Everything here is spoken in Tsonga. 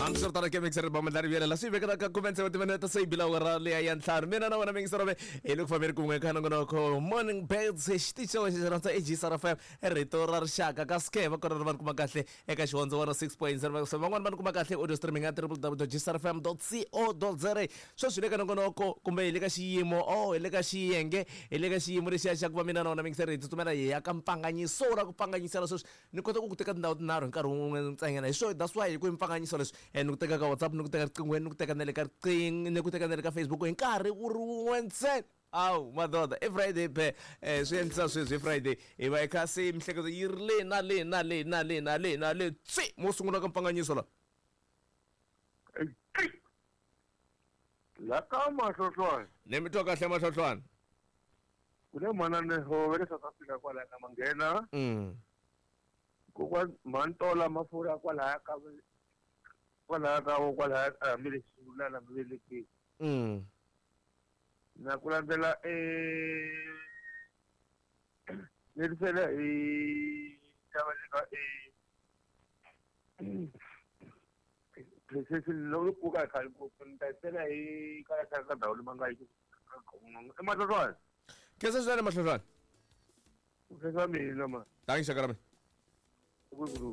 Hambiswiritano ke mixer ba mandlari vuyela swi vekela ka khume tsevu timinete se yi bila awara leya ya ntlhanu. Mina na wena mixer ve hi le ku fambeni kun'we ka nongonoko Morning Birds, xitichi xa wena xi rhandza eGSR FM, rito ra rixaka ka ske va kona va ni kuma kahle eka Xihondzo 106.0. So van'wani va ni kuma kahle audio streaming ya www.gsrfm.co.za. Sweswi hi le ka nongonoko kumbe hi le ka xiyimo, oh, hi le ka xiyenge, hi le ka xiyimo lexiya xa ku va mina na wena mixer hi tsutsumela hi ya ka mpfanganyiso ra ku pfanganyisela sweswi. Ni kota ku ku teka tindhawu tinharhu hi nkarhi wun'we ntsanyana. Hi swo that's why hi ku mpfanganyiso leswi ni ku teka ka WhatsApp, ni ku teka riqinghweni, ni ku teka na le ka riqing, ni ku teka na le ka Facebook hi nkarhi wu ri wun'we ntsena. Awu madoda, i Friday phe. Swi endlisa sweswi hi Friday hi va hi kha se mihleketo yi ri le na le na le na le na le na le tsi mo sungula ka mpfanganyiso la. La ka Mahlohlwana. Ni mi twa kahle Mahlohlwana. Ku ne manana Hove le South Africa kwalaya ka Manghena. Kokwa Mhantola Mafurha kwalaya ka kwalaya ka kwalaya a hambi le Xilulana hambi le kwihi. Na ku landzela ni hi tava le ka loko pfuka hi khale ngopfu ni ta sela hi kaya ka ndhawu leyi ma nga yi i Mahlohlwana. Khensa swinene Mahlohlwana. Ku khensa mina ma. Thanks xaka ra mina. Ku ku.